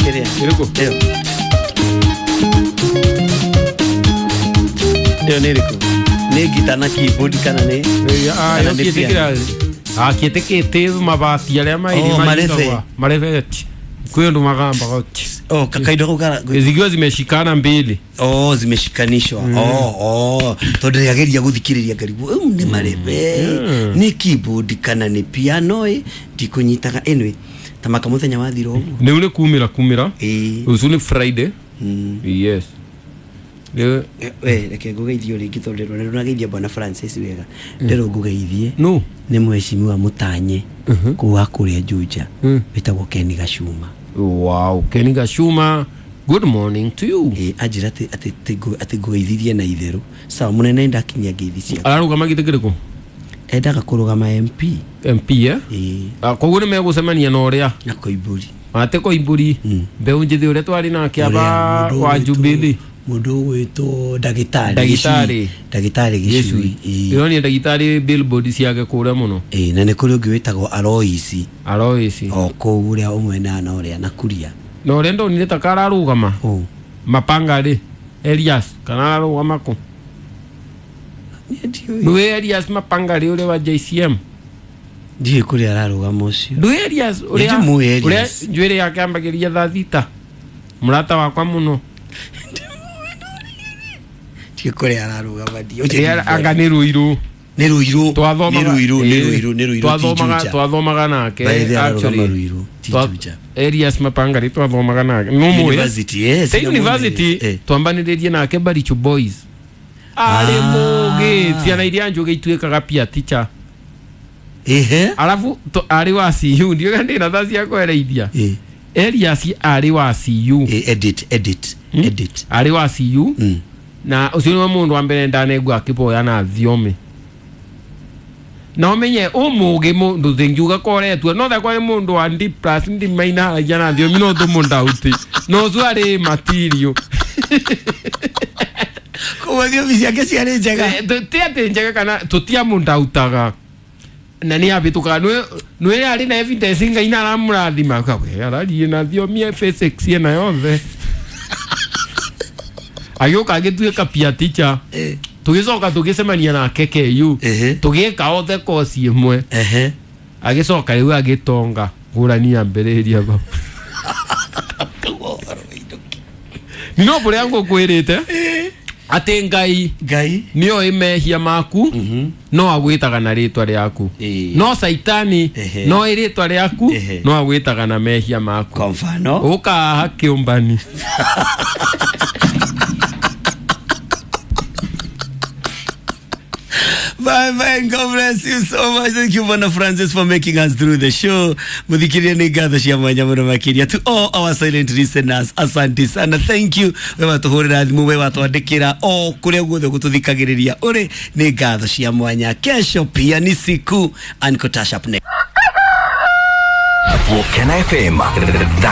Ĩrĩa. Ĩrĩkũ? Ĩyo. Ĩyo nĩ ĩrĩkũ? Nĩ ngita na keyboard kana nĩ Ah, kana yo nĩ kiete piano? kira. Ah, kiete kete mabati aria mairi Oh, marebe. marebe. Kwĩ ũndũ magambaga. Oh, kakaindo kau kara Zikiwa zimeshikana mbili. Oh, zimeshikanishwa. Oh, oh. Tondũ ndĩrageria gũthikĩrĩria ngarigwo rĩu nĩ marebe nĩ keyboard kana nĩ piano ĩ ndikũnyitaga. Anyway, ta maka mũthenya wathira ũguo. Nĩ nĩ kumĩra kumĩra. Ĩĩ. Rũciũ nĩ Friday. Yes. Rĩu We reke ngũgeithie rĩngĩ tondũ ndĩrona ndũrageithia bwana Francis wega. Ndĩrwo ngũgeithie no. nĩ mheshimiwa Mũtanye kũu wa kũrĩa Juja wĩtagwo Ken Gacuma. Wow, Kenny Gashuma. Good morning to you. Ĩ anjĩra atĩ atĩ ngũgeithirie na itherũ. Sawa mũnene ndakinyia ngeithi ciaku. Ararũgama gĩtĩ kĩrĩkũ? Endaga kũrũgama MP. MP eh? Ĩ. Ah, koguo nĩ megũcemania na ũrĩa na Koimbũri. ate Koimbũri mbeũ njĩthĩ ũrĩa twarĩ nake aba Ũrĩa mũndũ wa ũgwĩtwo- Jubilee. Mũndũ ũgwĩtwo ndagĩtarĩ Ndagĩtarĩ. Gĩcui. Ndagĩtarĩ Gĩcui. Ĩ. Ndĩronire ndagĩtarĩ billboard ciake kũrĩa mũno. Ĩ, na nĩ kũrĩ ũngĩ wĩtagwo Aloisi Aloisi. o kũu ũrĩa ũmwe na ũrĩa na Kuria. Na ũrĩa ndonire ta kararũgama Ũ. Mapanga rĩ Elias kana ararũgama kũ? Niĩ ndiũĩ. Nĩwe Elias Mapanga rĩ ũrĩa wa JCM. Ndiũĩ kũrĩa ararũgama ũcio. Ndũĩ Elias ũrĩa Nĩndĩmũĩ Elias. ũrĩa njuĩrĩ yake ambagĩria thaa thita. Mũrata wakwa mũno. Ndiũĩ kũrĩa ararũgama ndiũĩ. Rĩa anga nĩ Ruiru. Nĩ Ruiru. Twathomaga Nĩ Ruiru, nĩ Ruiru, nĩ Ruiru ti Juja. Twathomaga nake By the way, ararũgama actually. Ruiru ti Juja. Elias Mapanga rĩ twathomaga nake. No mũĩ. University, yes. Te nĩmũĩ. university Eh. twambanĩrĩrie nake Baricho Boys. Arĩ mũgĩ ciana iria njũgĩ ituĩkaga peer teacher. Ehe. Arabu arĩ wa CU ndiũĩ kana ndĩna thaa cia kwereithia. Eh. Elias arĩ wa CU. Eh, edit, edit, edit. Arĩ wa CU. Mm. Na ũcio nĩwe mũndũ wa mbere ndanegua akĩboya na thiomi. Na ũmenye ũmũgĩ mũndũ thingiuga koretwo no thakwa nĩ mũndũ wa D plus ndimainaragia na thiomi no tũmũndauti no ũcio arĩ material. Koguo thiomi ciake ciarĩ njega. Ti atĩ njega kana tũtiamũndautaga na nĩ abĩtũkaga nĩ arĩ na evidence Ngai na aramũrathima we ararie na thiomi ya physics ĩna yothe. Agĩũka agĩtuĩka peer teacher. Eh. Tũgĩcoka tũgĩcemania nake KU. Ehe. Tũgĩka othe kosi ĩmwe. Ehe. Agĩcoka rĩu agĩtonga ngũrani yambĩrĩria bau. Koguo ũhoro wĩinũke. No kũrĩa ngũkwĩrĩte atĩ Ngai Ngai. nĩoĩ mehia maku no agwĩtaga na rĩtwa rĩaku. Ĩĩ. No Saitani Ehe. no ĩ rĩtwa rĩaku Ehe. no agwĩtaga na mehia maku. Kwa mfano. Ũkaha kĩũmbani. Bye bye and God bless you so much. Thank you, Bwana Francis, for making us through the show. Muthikiria nĩ ngatho cia mwanya mũno makĩria to all our silent listeners. Asante sana. Thank you. We watũhũrĩra thimũ, we watwandĩkĩra o kũrĩa guothe gũtũthikagĩrĩria ũrĩ nĩ ngatho cia mwanya. Kesho pia ni siku. Uncle Tash up next. Volcano FM. The